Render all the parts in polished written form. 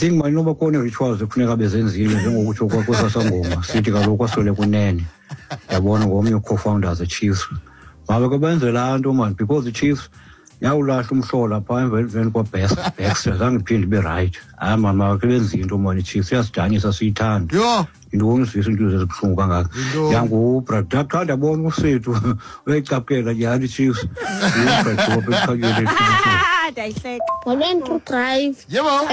Think mani noba khona ii-rituals ekufuneka bezenzile, njengokutsho kwesasangoma sithi kaloku kwaswele kunene, yabona, ngomnye co-founders eChiefs. Mabe ke benze laa nto mani, because iChiefs yawulahla umhlola phaa emveni kwaBaxter, zange iphinde ibe right. Hayi mani, makhe benze into mani, iChiefs iyasidanisa, siyithanda. Yho. Yintoni uzivisa iinto ezibuhlungu kangaka? Yintoni? Yangubra xa ndiyabona usethu uyayicaphukela nyhani iChiefs. Ngubra. Ah, ndiyayihleka. Molweni, True Drive. Yebo.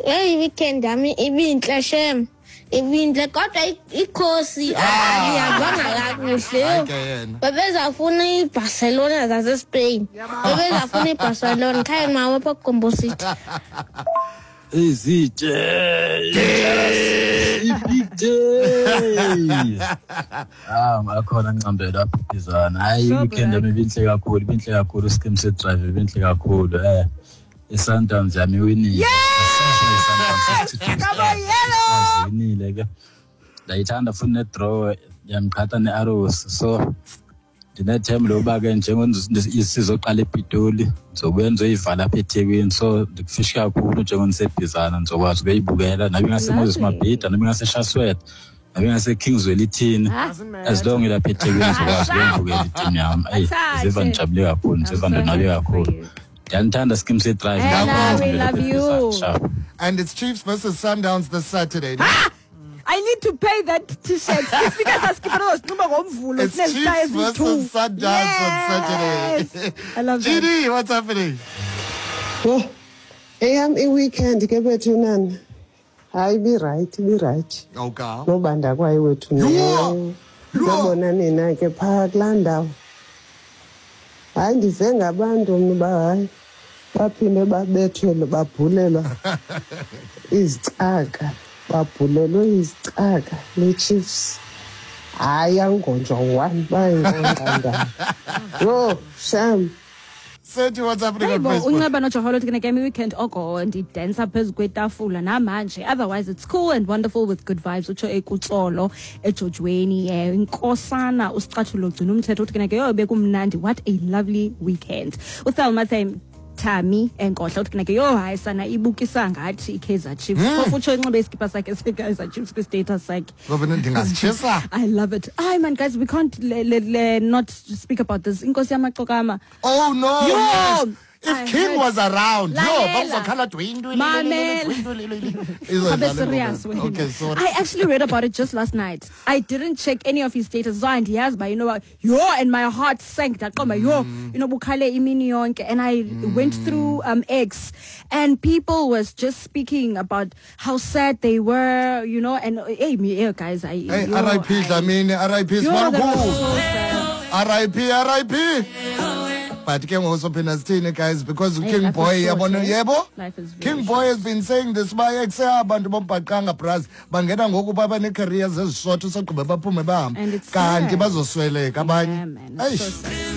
Heyi, weekend yami ibintle shem. Ibintle kodwa ikhosi alihambanga kakuhle. Hayi ke yena. Bebezafuna iBarcelona zaseSpain. Bebezafuna iBarcelona. Khaya mawe apha kuGombo City. Izitshe i-big days. Ah, ngakhona ncambela apha ibizana. Hayi, So i-weekend black. yami ibinhle kakhulu, ibinhle kakhulu, iskim se-drive ibinhle kakhulu. I-Sundowns yami iwinile. Yes! Come on, yellow! Iwinile ke. Ndayithanda futhi ne-draw yamqhatha ne-Arrows. So ndinethemba lokuba ke njengoba sizoqala ePitoli, ndizobuya ndizoyivala apha eThekwini, so ndikufishi kakhulu njengoba ndisebhizana, ndizokwazi ukuyibukela nabe ingaseMoses Lovely. Mabhida, nabe ingaseShaswet, nabe ingaseKings Welithini, Ah. as long ilapha eThekwini ndizokwazi ukuyibukela itimu yam. Eyi, ndiziva ndijabule kakhulu, ndiziva I'm so ndonwabe happy for kakhulu. you. Ndiyanithanda, skim se-drive. Ella, we love you. And it's Chiefs versus Sundowns this Saturday. I need to pay that t-shirt. Sifika sasikipha sinxiba ngoMvulo. It's Sinezitayi Chiefs eziyi-two. versus Sundowns on Yes. Saturday. I love that. GD, what's happening? Yho, eyam iweekend ke bethunana, hayi, ibirayithi, ibirayithi. Okay. Nobanda kwayo wethu. Yho! Yho! Nobona nina ke phaa kulaa ndawo. Hayi, ndive ngabantu mna uba hayi, baphinde babethelwe, babhulelwa izicaka, babhulelwe izicaka neChiefs. Hayi, angonjwa one, bayingonqa ndawo. Yho, sham. Sethi, what's happening Hey on bo, Facebook? unceba nojoholo uthi ke weekend oko ndidansa phezu kwetafula namanje, otherwise it's cool and wonderful with good vibes, utsho ekutsolo ejojweni. Inkosana usicathulo gcina umthetho uthi ke yho, bekumnandi, what a lovely weekend. UThelma Thami enkohla uthi ke yho, hayi sana, ibukisa ngathi iKaizer Chiefs. Phofu utsho inxibe iskipa sakhe seKaizer Chiefs kwi-status sakhe. Ngoba ndingazitshisa. I love it. Ay man, guys, we can't not speak about this. Inkosi yamaqokama. Oh no. Yo! Yes. If I King heard- was around, yo, Lalela. bakuzokhala dwindwi. Mamela. Abe serious wena. Okay, sorry. I actually read about it just last night. I didn't check any of his status. So andiyazi ba, you know what? Yo, and my heart sank. Ndaqomba yo, bukhale imini yonke. And I went through X, and people was just speaking about how sad they were, and hey, me, hey guys, I Hey, yo, RIP Dlamini, RIP Yo, that was Smarukulu. so sad. RIP, RIP. But ke ngoku sophinda sithini, guys, because Hey, King life is Boy, short, yabona, eh? yebo, Life is very King Boy has been saying this ba ekse abantu bombhaqanga bras bangena ngoku baba nee-careers ezishort, usogqiba baphume bahambe And it's kanti sad. bazosweleka abanye. Yeah, man, it's so Eish. sad.